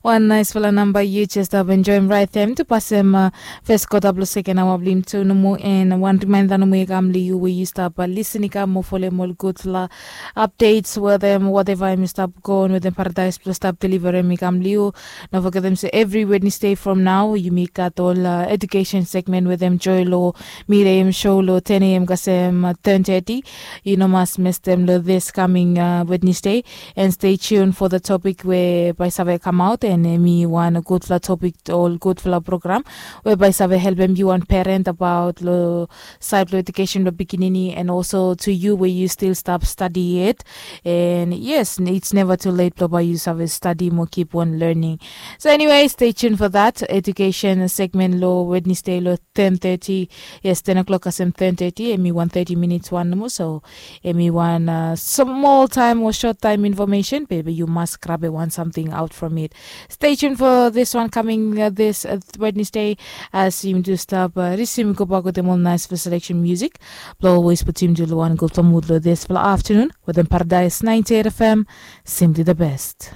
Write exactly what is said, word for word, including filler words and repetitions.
Wan naispela namba yu jes stap enjoim raet em tu pasem fes kota blong seken aoa blong yumi tu nomo. En wan rimainda nomo i kam long yu we yu stap lisin i kam mo folem ol gudfala updates wetem wateva em i stap go on wetem paradais blong stap deliverem i kam long yu. No fogetem se evri wednesday from nao yumi gat ol edukesen segmen wetem joy long mireim show long ten a m kasem ten thirty. Yu no mas mestem long this coming wednesday. And stay tuned for the topic we bai save kamaot and em i wan gudfala topic ol gudfala program we bai save helpem yu wan parent about lo side lo education lo pikinini and also to you we you still stop study it. And yes, it's never too late lo bai you save study mo keep on learning. So anyway, stay tuned for that education segment lo wednesday lo ten thirty. Yes, ten o'clock kasem ten thirty em i wan thirty minutes wan nomo so em i wan uh, small time or short time information baby you must grab a one something out from it. Stay tuned for this one coming uh, this uh, wednesday. As yumi tu stap uh, risim go back with them all nice for selection music. Blo always put him to one good for mood lo this for afternoon with them paradise ninety-eight fm. Simply the best.